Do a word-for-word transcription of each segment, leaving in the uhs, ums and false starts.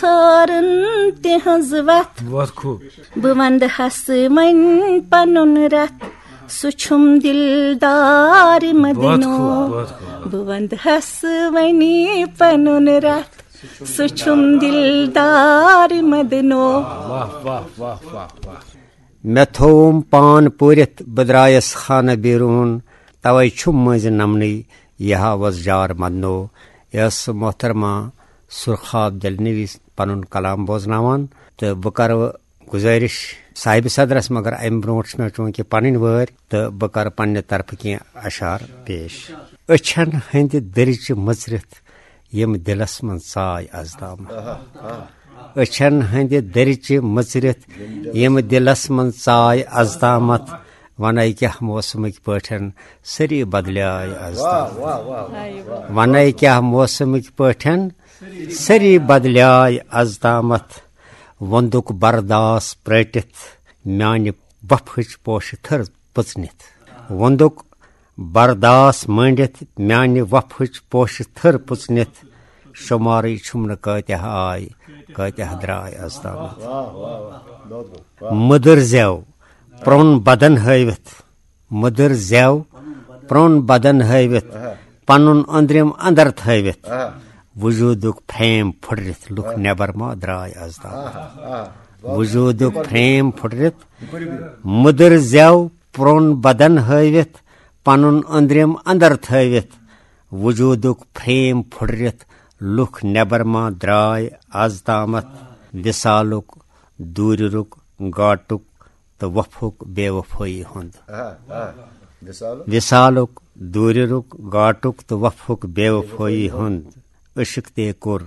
ژھارن تِہنٛز وتھ۔ بہٕ ونٛدٕ ہس وۄنۍ پنُن رتھ، سُہ چھُم دلدار مدنو۔ بہٕ ونٛدٕ ہس وۄنۍ پنُن رتھ، سُہ چھُم دلدار مدنو۔ مےٚ تھووُم پان پوٗرِتھ، بہٕ درٛایس خانہٕ بیروٗن، توے چھُم مٔنٛزۍ نمنٕے یہِ ہاوس جار مدنو۔ یہِ ٲس محترمہ سُرخاب دلنوی پنُن کلام بوزناوان، تہٕ بہٕ کرٕ گُزٲرِش صاحب صدرس، مگر امہِ برونٛٹھ چھِ مےٚ چوٗنٛکہِ پنٕنۍ وٲرۍ، تہٕ بہٕ کرٕ پننہِ طرفہٕ کینٛہہ اشعار پیش۔ أچھن ہٕنٛدِ دٔرچہِ مٔژرِتھ یِم دِلس منٛز ژاے از تامتھ۔ أچھن ہٕنٛدِ دٔرچہِ مٔژرِتھ یِم دِلس منٛز ژاے از تامتھ۔ ونے کیٛاہ موسمٕکۍ پٲٹھۍ سٲری بدلیاے از تامتھ۔ ونے کیٛاہ موسمٕکۍ پٲٹھۍ سٲری بدلیاے از تامتھ۔ ووٚندُک برداس پرٛٲٹِتھ میانہِ وفہٕچ پوشہٕ تھٔر پٔژنِتھ۔ ووٚندُک برداس مٲنڈِتھ میانہِ وفہٕچ پوشہٕ تھٔر پٔژنِتھ۔ شُمارٕے چھُم نہٕ کٲتیاہ آے، کٲتیاہ درٛاے از تامتھ۔ مٔدٕر زٮ۪و پرٛون بدن ہٲوِتھ، مٔدٕر زٮ۪و پرٛون بدن ہٲوِتھ، پنُن أنٛدرِم اندر تھٲوِتھ۔ وجوٗدُک فریم پھُٹرِتھ لُکھ نٮ۪بر ما درٛاے از تامتھ۔ وجوٗدُک فریم پھُٹرِتھ، مٔدٕر زٮ۪و پرٛون بدن ہٲوِتھ، پنُن أنٛدرِم اندر تھٲوِتھ۔ وجوٗدُک فریم پھُٹرِتھ لُکھ نٮ۪بر ما درٛاے از تامتھ۔ وِصالُک، دوٗرِرُک، گاٹُک تہٕ وفُک بے وفٲیی ہُنٛد۔ وِصالُک، دوٗرِرُک، گاٹُک تہٕ وفُک بے وفٲیی ہُنٛد۔ عشق تے کوٚر،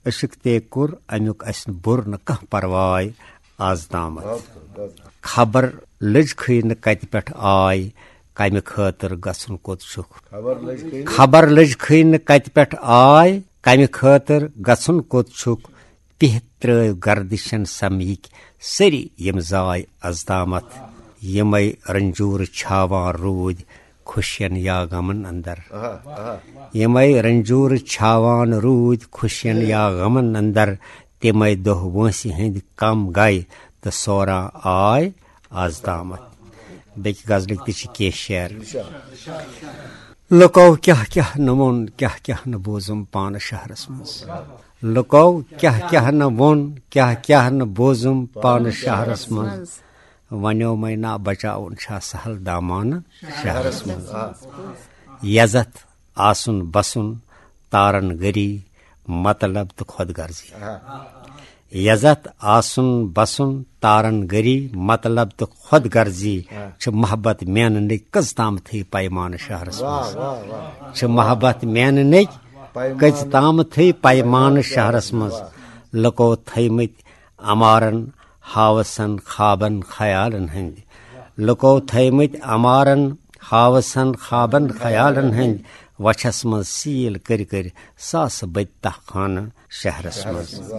عشق تے کوٚر، امیُک اسہِ بوٚر نہٕ کانٛہہ پرواے از تامتھ۔ خبر لٔج کھٕے نہٕ کتہِ پٮ۪ٹھ آے، کمہِ خٲطرٕ گژھُن کوٚت چھُکھ۔ خبر لٔج کھٕے نہٕ کتہِ پٮ۪ٹھ آے، کمہِ خٲطرٕ گژھُن کوٚت چھُکھ۔ پِہہ ترٲوۍ گردشن سمیِکۍ سٲری یِم زاے از تامتھ۔ یِمے رنجوٗرٕ چھاوان روٗدۍ خوشین یا غمن اندر۔ یِمے رنجوٗرٕ چھاوان روٗدۍ خوشین یا غمن اندر۔ تِمے دۄہ وٲنٛسہِ ہٕنٛدۍ کم گے تہٕ سوران آے از تامتھ۔ بیٚکہِ غزلٕکۍ تہِ چھِ کینٛہہ شعر۔ لُکو کیٛاہ کیٛاہ نہٕ ووٚن، کیٛاہ کیٛاہ نہٕ بوٗزُم پانہٕ شہرس منٛز۔ لُکو کیٛاہ کیٛاہ نہٕ ووٚن، کیٛاہ کیٛاہ نہٕ بوٗزُم پانہٕ شہرس منٛز۔ ونیومے نا بچاوُن چھا سہل دامانہٕ شہرس منٛز۔ یزتھ آسُن بسُن تارن گری، مطلب تہٕ خود غرضی۔ یزتھ آسُن بسُن تارن گری، مطلب تہٕ خود غرضی۔ چھِ محبت میننٕکۍ کٔژ تامتھٕے پیمانہٕ شہرس منٛز۔ چھِ محبت میننٕکۍ کٔژ تامتھٕے پیمانہٕ شہرس منٛز۔ لُکو تھٲومٕتۍ امارن ہاوسن خوابن خیالن ہٕنٛدۍ۔ لُکو تھٲومٕتۍ امارن ہاوسن خوابن خیالن ہٕنٛدۍ۔ وچھس منٛز سیٖل کٔرۍ کٔرۍ ساسہٕ بٔدۍ تہہ خانہٕ شہرس منٛز۔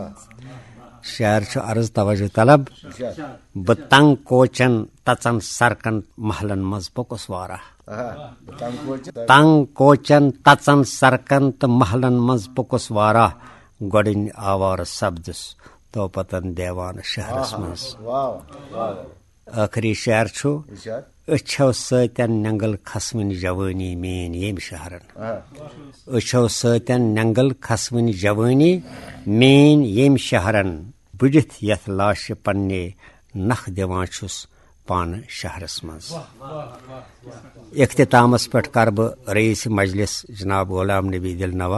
شعر چھُ عرض توجہ طلب۔ بہٕ تنگ کوچن تژن سرکن محلن منٛز پوٚکُس واراہ۔ تنگ کوچن تژن سرکن تہٕ محلن منٛز پوٚکُس واراہ۔ گۄڈٕنۍ آوارٕ سپدُس توپتن دیوان شہرس منٛز۔ ٲخری شعر چھُ، أچھو سۭتٮ۪ن نٮ۪نٛگل کھسوٕنۍ جوٲنی میٛٲنۍ ییٚمۍ شہرن۔ أچھو سۭتٮ۪ن نٮ۪نٛگل کھسوٕنۍ جوٲنی میٛٲنۍ ییٚمۍ شہرن۔ بٔڑِتھ یتھ لاشہِ پننہِ نکھ دِوان چھُس پانہٕ شہرس منٛز۔ اختتامس پٮ۪ٹھ کرٕ بہٕ رئیس مجلس جناب غلام نبی دل نواز